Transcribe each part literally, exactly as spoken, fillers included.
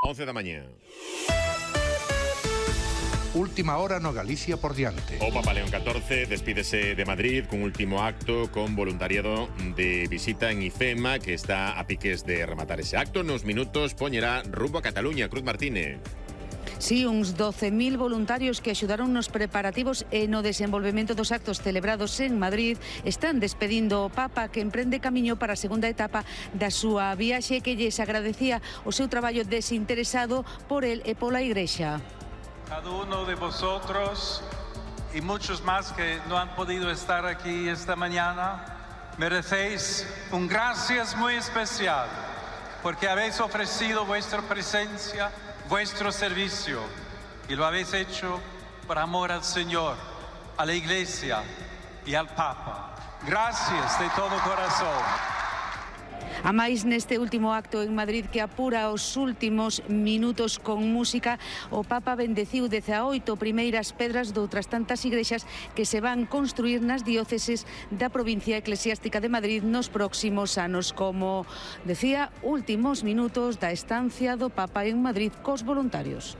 once da mañá. Última hora no Galicia por diante. O Papa León catorce despídese de Madrid cun último acto con voluntariado de visita en IFEMA, que está a piques de rematar ese acto. Nos minutos poñerá rumbo a Cataluña. Cruz Martínez. Sí, uns doce mil voluntarios que axudaron nos preparativos e no desenvolvemento dos actos celebrados en Madrid están despedindo o Papa, que emprende camiño para a segunda etapa da súa viaxe, que lles agradecía o seu traballo desinteresado por el e pola Igrexa. Cada uno de vosotros y muchos más que no han podido estar aquí esta mañana, merecéis un gracias muy especial porque habéis ofrecido vuestra presencia, vuestro servicio, y lo habéis hecho por amor al Señor, a la Iglesia y al Papa. Gracias de todo corazón. A máis, neste último acto en Madrid, que apura os últimos minutos con música, o Papa bendeciu dezaoito primeiras pedras de outras tantas igrexas que se van construir nas dióceses da provincia eclesiástica de Madrid nos próximos anos, como decía, últimos minutos da estancia do Papa en Madrid cos voluntarios.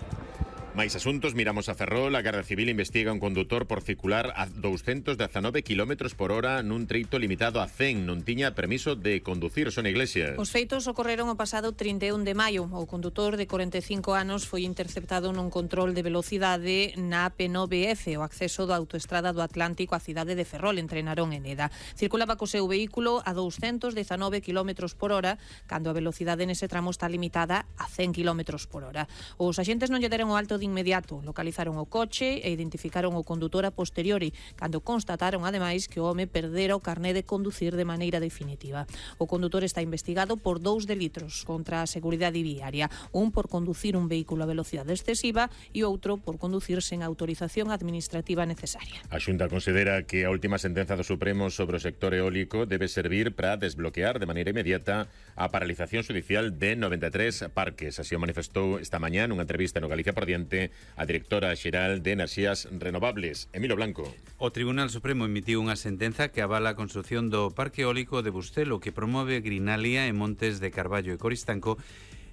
Máis asuntos, miramos a Ferrol. A Garda Civil investiga un condutor por circular a doscientos dezanove kilómetros por hora nun treito limitado a cen. Non tiña permiso de conducir. Son Iglesias. Os feitos ocorreron o pasado trinta e un de maio. O condutor de corenta e cinco anos foi interceptado nun control de velocidade na A P nove F, o acceso da autoestrada do Atlántico á cidade de Ferrol, entre Narón e Neda. Circulaba co seu vehículo a doscientos dezanove kilómetros por hora, cando a velocidade nese tramo está limitada a cen kilómetros por hora. Os axentes non lle deron o alto de inmediato, localizaron o coche e identificaron o condutor a posteriori, cando constataron ademais que o home perdera o carné de conducir de maneira definitiva. O condutor está investigado por dous delitos contra a seguridade viaria, un por conducir un vehículo a velocidade excesiva e outro por conducir sen autorización administrativa necesaria. A Xunta considera que a última sentenza do Supremo sobre o sector eólico debe servir para desbloquear de maneira inmediata a paralización judicial de noventa e tres parques. Así o manifestou esta mañá nunha entrevista no Galicia por diante a directora xeral de Enerxías Renovables, Emilio Blanco. O Tribunal Supremo emitiu unha sentenza que avala a construción do parque eólico de Bustelo, que promove Grinalia en Montes de Carballo e Coristanco,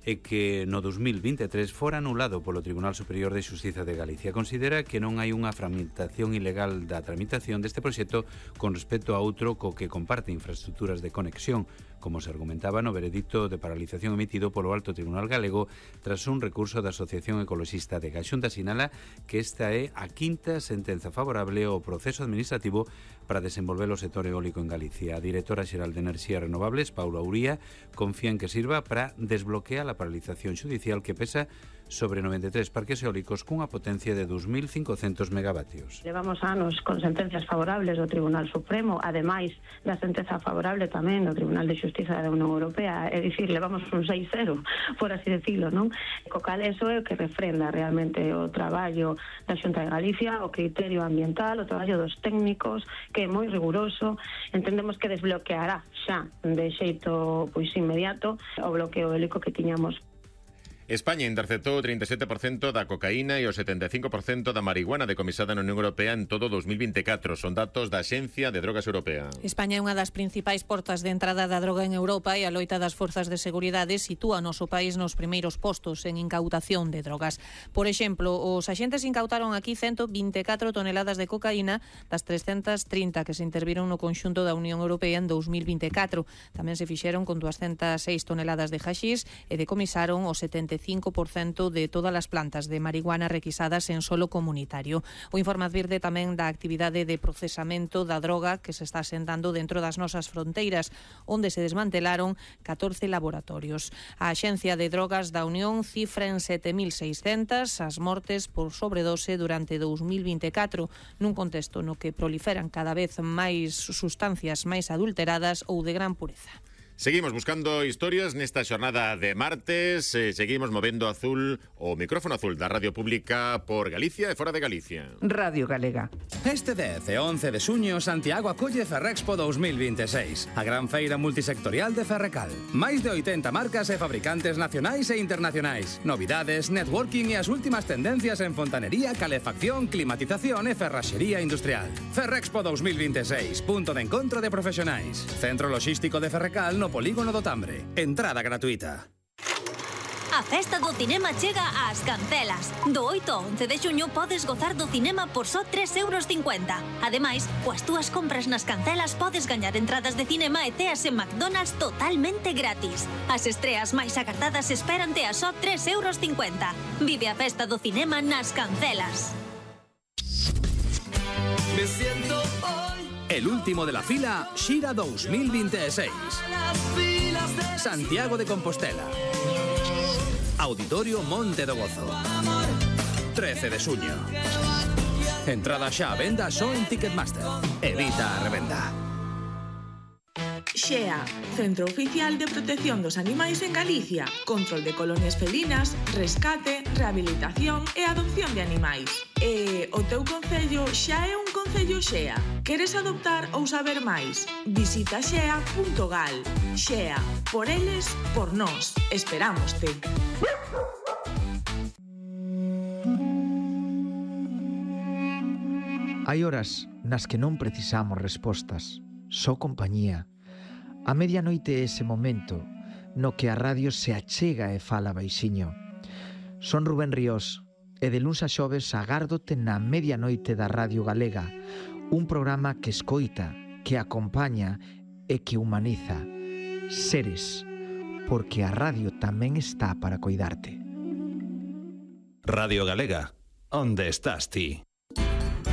e que no dos mil vinte e tres fora anulado polo Tribunal Superior de Xustiza de Galicia. Considera que non hai unha fragmentación ilegal da tramitación deste proxecto con respecto a outro co que comparte infraestructuras de conexión, como se argumentaba no veredicto de paralización emitido polo Alto Tribunal Galego tras un recurso da Asociación Ecoloxista de Xunta. Sinala que esta é a quinta sentenza favorable ao proceso administrativo para desenvolver o sector eólico en Galicia. A directora xeral de Enerxías Renovables, Paula Uría, confía en que sirva para desbloquear a paralización judicial que pesa sobre noventa e tres parques eólicos cunha potencia de dos mil cincocentos megavatios. Levamos anos con sentencias favorables do Tribunal Supremo, ademais da sentenza favorable tamén do Tribunal de Xustiza da Unión Europea, é dicir, levamos un seis cero, por así decirlo, non? Co cal eso é o que refrenda realmente o traballo da Xunta de Galicia, o criterio ambiental, o traballo dos técnicos, que é moi riguroso. Entendemos que desbloqueará xa de xeito pois inmediato o bloqueo eólico que tiñamos. España interceptou o trinta e sete por cento da cocaína e o setenta e cinco por cento da marihuana decomisada na Unión Europea en todo dos mil vinte e catro. Son datos da Axencia de Drogas Europea. España é unha das principais portas de entrada da droga en Europa e a loita das forzas de seguridade sitúa o noso país nos primeiros postos en incautación de drogas. Por exemplo, os axentes incautaron aquí ciento vinte e catro toneladas de cocaína das trescentas trinta que se interviron no conxunto da Unión Europea en dos mil vinte e catro. Tamén se fixeron con duascentas seis toneladas de haxís e decomisaron o setenta e cinco por cento de todas as plantas de marihuana requisadas en solo comunitario. O informe advirte tamén da actividade de procesamento da droga que se está asentando dentro das nosas fronteiras, onde se desmantelaron catorce laboratorios. A Axencia de Drogas da Unión cifra en sete mil seiscentas as mortes por sobredose durante dos mil vinte e catro, nun contexto no que proliferan cada vez máis sustancias máis adulteradas ou de gran pureza. Seguimos buscando historias nesta xornada de martes, eh, seguimos movendo azul o micrófono azul da Radio Pública por Galicia e fora de Galicia. Radio Galega. Este dez e once de xuño, Santiago acolle Ferrexpo dos mil vinte e seis, a gran feira multisectorial de Ferrecal. Máis de oitenta marcas e fabricantes nacionais e internacionais, novidades, networking e as últimas tendencias en fontanería, calefacción, climatización e ferraxería industrial. Ferrexpo dos mil vinte e seis, punto de encontro de profesionais. Centro Logístico de Ferrecal no Polígono do Tambre. Entrada gratuita. A festa do cinema chega ás Cancelas. Do oito ao once de xuño podes gozar do cinema por só tres euros cincuenta. Ademais, coas túas compras nas Cancelas podes gañar entradas de cinema e ceas en McDonald's totalmente gratis. As estreas máis agardadas esperante a só tres euros cincuenta. Vive a festa do cinema nas Cancelas. Me siento hoy. El último de la fila, Xira dos mil veintiséis. Santiago de Compostela. Auditorio Monte do Gozo. trece de xuño. Entrada xa a venda só en Ticketmaster. Evita a revenda. Xea, Centro Oficial de Protección dos Animais en Galicia. Control de colonias felinas, rescate, rehabilitación e adopción de animais. E o teu concello xa é un concello Xea. Queres adoptar ou saber máis? Visita xea punto gal. Xea, por eles, por nós. Esperámoste. Hai horas nas que non precisamos respostas, só compañía. A medianoite é ese momento no que a radio se achega e fala baixiño. Son Rubén Ríos e de luns a xoves agárdote na medianoite da Radio Galega, un programa que escoita, que acompaña e que humaniza. Seres, porque a radio tamén está para coidarte. Radio Galega, onde estás ti?